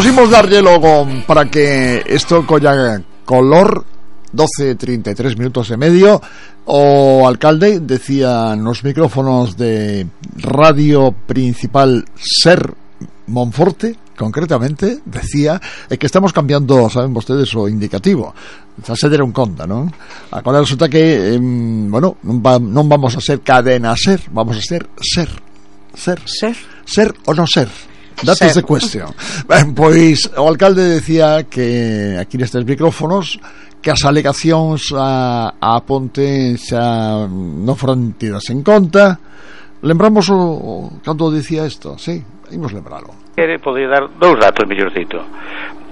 Imos darlle logo para que isto colla color. 12:33 minutos e medio. O alcalde decía nos micrófonos de Radio Principal Ser Monforte, concretamente, decía que estamos cambiando, saben vostedes, o indicativo. Xa se deron conta, non? Agora resulta que, bueno, non vamos a ser cadena ser, vamos a ser ser. Ser ou non ser? That is the question. Ben, pois o alcalde decía que aquí nestes micrófonos que as alegacións a ponte xa non foran tidas en conta. Lembramos cando dicía isto, sí, imos lembralo. Podría dar dous datos mellorcito.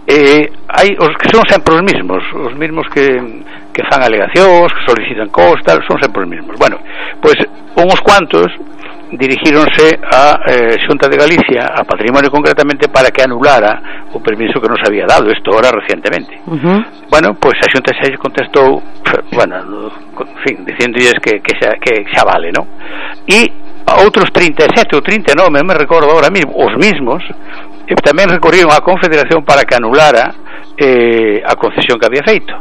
Hai os que son sempre os mesmos que fan alegacións, que solicitan costas, son sempre os mesmos. Bueno, pois uns cuantos dirigíronse a Xunta de Galicia, a Patrimonio concretamente, para que anulara o permiso que nos había dado, isto ahora recientemente. Bueno, pois a Xunta xa contestou, bueno, en fin, diciéndolles que xa vale, non? E outros 37 ou 39, me recordo ahora mismo, os mismos, tamén recorrieron á Confederación para que anulara a concesión que había feito.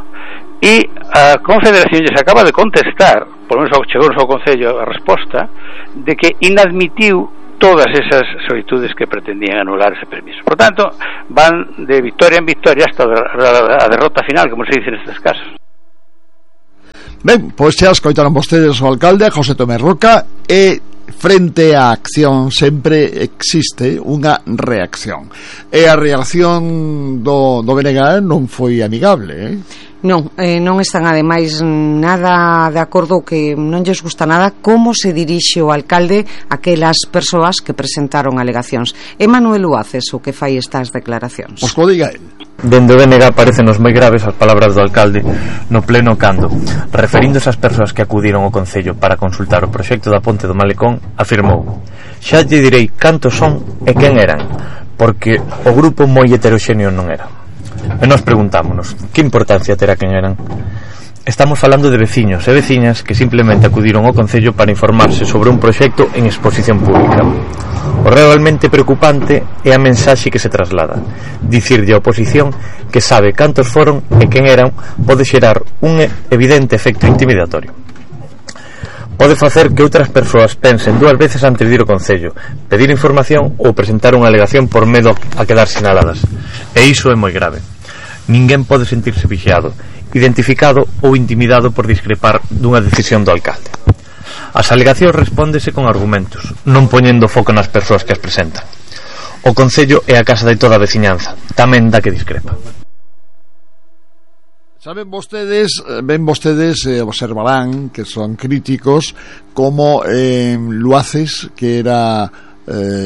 E a Confederación lles acaba de contestar, por lo menos chegou ao Concello a resposta, de que inadmitiu todas esas solicitudes que pretendían anular ese permiso. Por tanto, van de victoria en victoria hasta a derrota final, como se dice nestes casos. Ben, pois xa escoitaron vostedes o alcalde José Tomé Roca, e frente á acción sempre existe unha reacción, e a reacción do BNG non foi amigable, Non están ademais nada de acordo, que non lles gusta nada como se dirixe o alcalde a aquelas persoas que presentaron alegacións. É Manuel Uaces o que fai estas declaracións. Pois que diga el. Dende o BNG parecen-nos moi graves as palabras do alcalde no pleno cando, referíndose ás persoas que acudiron ao Concello para consultar o proxecto da ponte do Malecón, afirmou: xa lle direi cantos son e quen eran, porque o grupo moi heteroxéneo non era. E nós preguntámonos, que importancia terá quen eran? Estamos falando de veciños e veciñas que simplemente acudiron ao Concello para informarse sobre un proxecto en exposición pública. O realmente preocupante é a mensaxe que se traslada. Dicirlle á oposición que sabe cantos foron e quen eran pode xerar un evidente efecto intimidatorio. Pode facer que outras persoas pensen dúas veces antes de ir ao Concello, pedir información ou presentar unha alegación por medo a quedar sinaladas. E iso é moi grave. Ninguén pode sentirse vixiado, identificado ou intimidado por discrepar dunha decisión do alcalde. As alegacións respóndese con argumentos, non poñendo foco nas persoas que as presentan. O Concello é a casa de toda a veciñanza, tamén da que discrepa. Saben vostedes, ven vostedes, observarán que son críticos como Luaces, que era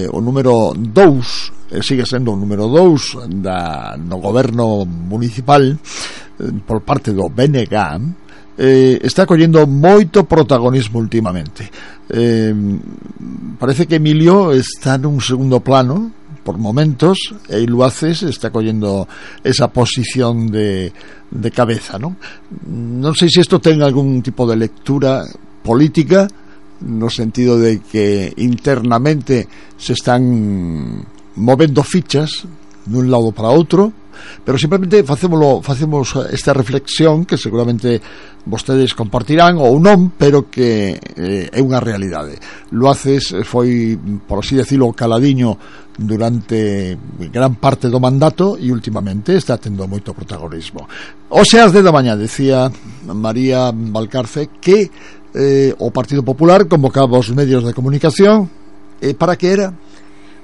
o número 2, sigue sendo o número 2 no goberno municipal por parte do BNG, está collendo moito protagonismo últimamente. Parece que Emilio está nun segundo plano por momentos, e Luaces está collendo esa posición de cabeza, non? Non sei se isto ten algún tipo de lectura política, no sentido de que internamente se están movendo fichas dun lado para outro, pero simplemente facemos esta reflexión que seguramente vostedes compartirán ou non, pero que é unha realidade. Luaces foi, por así decirlo, caladiño durante gran parte do mandato e últimamente está tendo moito protagonismo. Hoxe ás 10 da mañá decía María Valcarce que o Partido Popular convocaba os medios de comunicación. Para que era?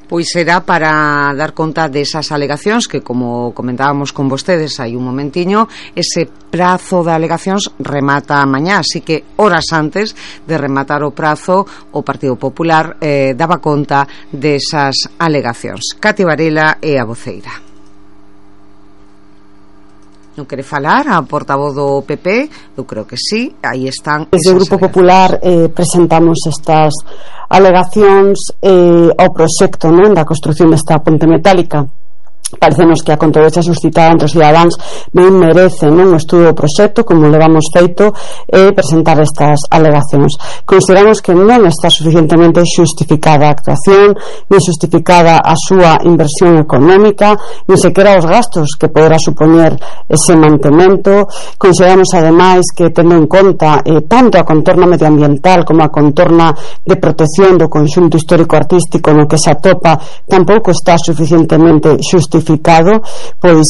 Pois será para dar conta desas alegacións que, como comentábamos con vostedes hai un momentiño, ese prazo de alegacións remata mañá, así que horas antes de rematar o prazo o Partido Popular daba conta desas alegacións. Cati Varela é a voceira. Non quere falar a portavoz do PP? Eu creo que sí, aí están. Desde o Grupo Popular presentamos estas alegacións ao proxecto, non, da construción desta ponte metálica Parecenos que a controversia suscitada entre os cidadáns ben merece un estudo do proxecto como levamos feito e presentar estas alegacións. Consideramos que non está suficientemente xustificada a actuación, nin justificada a súa inversión económica, nin sequera os gastos que poderá supoñer ese mantemento. Consideramos ademais que, tendo en conta tanto a contorna medioambiental como a contorna de protección do conxunto histórico-artístico no que se atopa, tampouco está suficientemente justificado, pois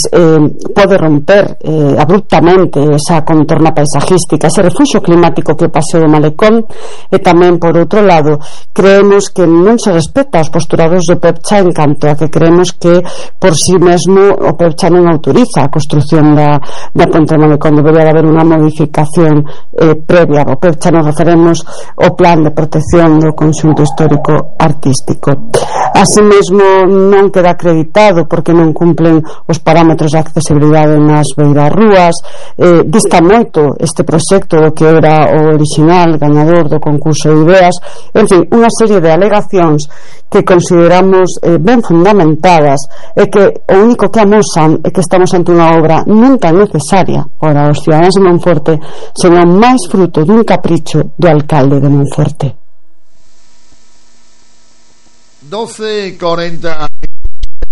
pode romper abruptamente esa contorna paisajística, ese refuxo climático que é o Paseo do Malecón. E tamén, por outro lado, creemos que non se respeta os postulados do PEPCHA en canto a que creemos que por si mesmo o PEPCHA non autoriza a construción da ponte do Malecón. Debería haber unha modificación previa ao PEPCHA. Nos referemos ao plan de protección do conxunto histórico artístico. Así mesmo non queda acreditado porque non cumplen os parámetros de accesibilidade nas beirarrúas. Dista moito este proxecto do que era o original gañador do concurso de ideas. En fin, unha serie de alegacións que consideramos ben fundamentadas e que o único que amosan é que estamos ante unha obra non tan necesaria para os ciudadanos de Monforte, senón máis fruto dun capricho do alcalde de Monforte. 12:40